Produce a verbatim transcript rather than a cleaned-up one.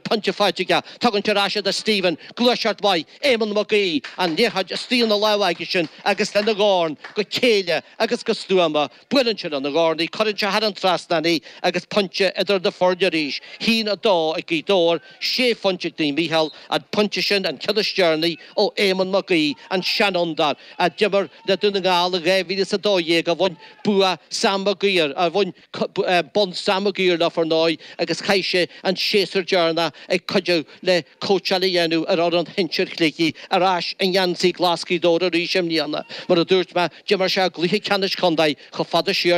Pointe faighte aige. Tugann sé ar ais é do Stephen. Gluaiseacht mhaith. Éamonn Mac Aoidh. An liathróid istigh ina lámha aige sin agus lena dhorn go céille agus go stuama. Buaileann sé lena dhorn í, cuireann sé thar an trasnán í agus pointe idir na foirne arís. Haon a dó ag Gaoth Dobhair, sé phointe ag Naomh Mícheál. An pointe sin an ceann is deireanaí ó Éamonn Mac Aoidh, an seanfhondúir a d'imir le Dún na nGall i dhá mhíle is a dó dhéag, a bhain bua Sam Maguire, a bhain bonn Sam Maguire leo ar ndóigh agus chaith sé an séasúr deireanach ag cuidiú le cóitseáil a dhéanamh ar fhoireann shinsir Shligigh ar ais i ngeansaí glas Ghaoth Dobhair arís i mbliana. Mar a dúirt mé, d'imir sé i gcluiche ceannais contae chomh fada siar